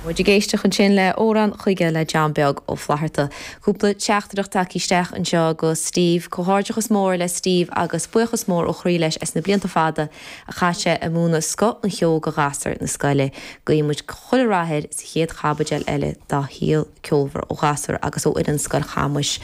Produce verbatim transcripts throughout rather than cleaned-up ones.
Muid ag éisteacht ansin le Amhrán Chuige le John Beag Ó Flatharta. Cúpla teachtaireacht tagtha isteach anseo go Steve, Comhghairdeachas mór le Steve agus buíochas mór ó chroí leis as na blianta fada a chaith sé ag múineadh scoth an cheoil do ghasúir na scoile. Guímid chuile rath air sa chéad chaibidil eile dá shaol ceolmhar ó ghasúir agus ó fhoireann Scoil Chamuis.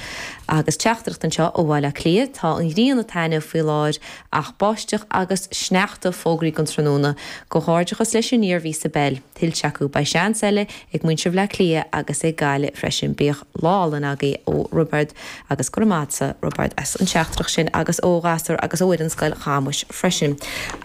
Agus teachtaireacht anseo ó Bhaile Átha Cliath tá an ghrian ag taitneamh faoi láthair ach báisteach agus sneachta fógraithe don tráthnóna Comhghairdeachas leis an Iarmhí sa bpeil. Tuillte acu beidh seans eile ag muintir Bhaile Átha Cliath agus ag Gaillimh freisin bíodh lá álainn agaibh ó Roibeard agus go raibh Roibeard as an teachtaireacht sin agus ó ghasúir agus ó fhoireann Scoil Chamuis freisin.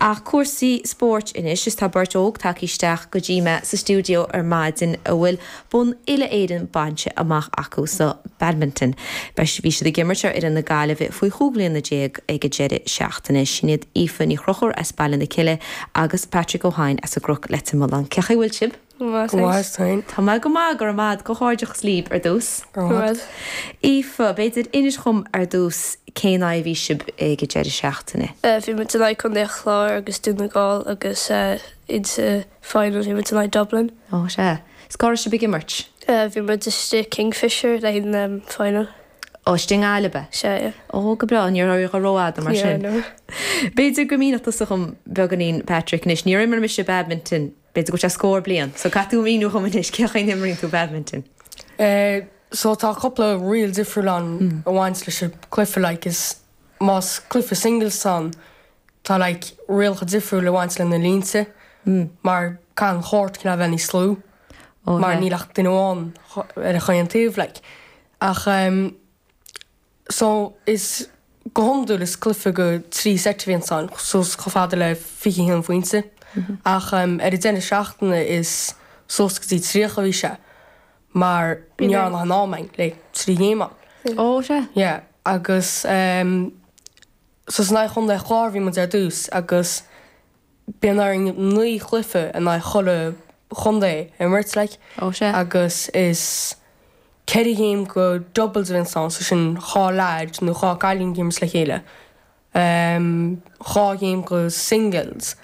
Ach cúrsaí spóirt anois is tá beirt óg tagtha isteach go dtí mé sa stiúideo ar maidin a bhfuil bonn uile Éireann bainte amach acu sa badminton. Beis bhí siad ag imirt ar fhoireann na Gaillimhe faoi chúig bliana déag ag an deireadh seachtaine sin iad Aoife Ní Chonchúir as Baile na Cille agus Patrick Ó hEidhin as an gCnoc Leitir Mealláin. Cén chaoi a bhfuil sibh? Tá mé go maith go raibh comhghairdeachas libh ar dtús. Aoife, b'fhéidir inis dom ar dtús cén aghaidh bhí sibh ag an deireadh seachtaine. Bhí muid in aghaidh Contae an Chláir agus Dún na nGall agus insa final bhí muid in aghaidh Dublin. Ó sea. Is cá raibh sibh ag imirt? Bhí muid istigh Kingfisher le an final. Ó istigh i nGaillimh? Sea. Ó go breá ní raibh rófhada mar sin. B'fhéidir go míneodh tusa dom beagáinín Patrick anois níor imir mise badminton b'fhéidir go sé scór bliain, so caithfidh tú míniú dom anois cén chaoi a n-imríonn tú badminton. Uh, so tá cúpla riail difriúil ann a bhaint leis an cluiche like is más cluiche singles ann tá like rialacha difriúil a bhaint le na línte mar caithfidh an court cineál bheith níos lú Ó, mar yeah. níl ach duine amháin ar an chaon taobh like. Ach um, so is go hiondúil is cluiche go trí set a bhíonn ann suas chomh fada le fiche haon phointe ach um, ar an deireadh seachtaine is suas go dtí tríocha bhí sé mar ní an an ámain le trí ghéma. Ó sea. Yeah, agus um, so san aghaidh Chontae an Chláir bhí muid ar dtús agus bíonn orainn naoi chluiche in aghaidh chuile chontae imirt like Ó sea. agus is ceithre ghéim go doubles a bhíonn ann so sin dhá leaid nó dhá cailín ag imirt le chéile. Um, dhá ghéim go singles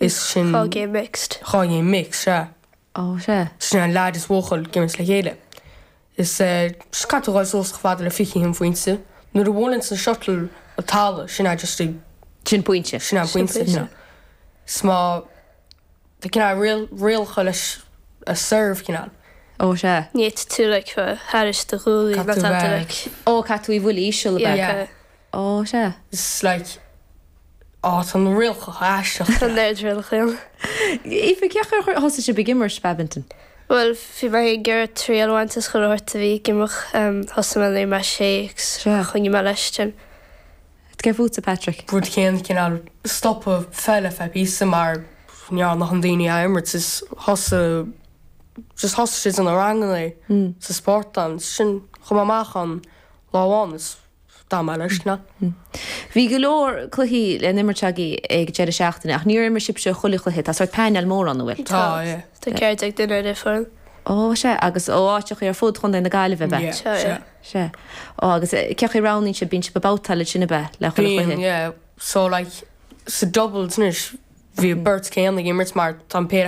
is sin Dhá game mixed. dhá ghéim mix sea. Ó sea. Sin an leaid is buachaill ag imirt le chéile. Is uh, caithfidh tú dul suas chomh fada le fiche haon phointe. Nuair a bhuaileann an shuttle an talamh sin é just Sin pointe. sin an pointe. pointe. you know. Is má tá cineál riail rialacha leis a serve cineál. Ó sea. Ní tú like thairis do ghuaillí Caithfidh tú tá bheith- like Ó caithfidh tú í bhualadh íseal yeah, Yeah. Ó sea. Is like á tá na rialacha aisteach. Tá neart rialacha. Aoife cén chaoi ar thosaigh sibh ag imirt badminton. Well bhí mé ag iarraidh triail a bhaint as chuile shórt a bhí ag imeacht thosaigh mé nuair mé sé Sea. choinnigh mé leis sin. Cé fútsa Patrick. Rud céanna cineál stopadh peil ar feadh píosa mar ní nach an daoine a imirt is thosaigh just thosaigh siad ina ranganna sa spórtlann sin chum amach an lá amháin is dá mé leis na. Bhí go leor cluichí le n-imirt agaibh ag deireadh seachtaine ach níor imir sibhse chuile chluiche tá sort painéal mór an bhfuil. Tá yeah. Tá ceithre déag duine ar foireann. Ó sea agus ó áiteacha ar fud Chontae na Gaillimhe be. Yeah, Sea, sea. Sea. Ó agus eh, cén chaoi a roghnaíonn sibh bíonn sibh ag babhtáil sin be le chuile Bíonn chluiche. yeah. So like sa doubles anois bhí beirt céanna ag imirt mar tá an péire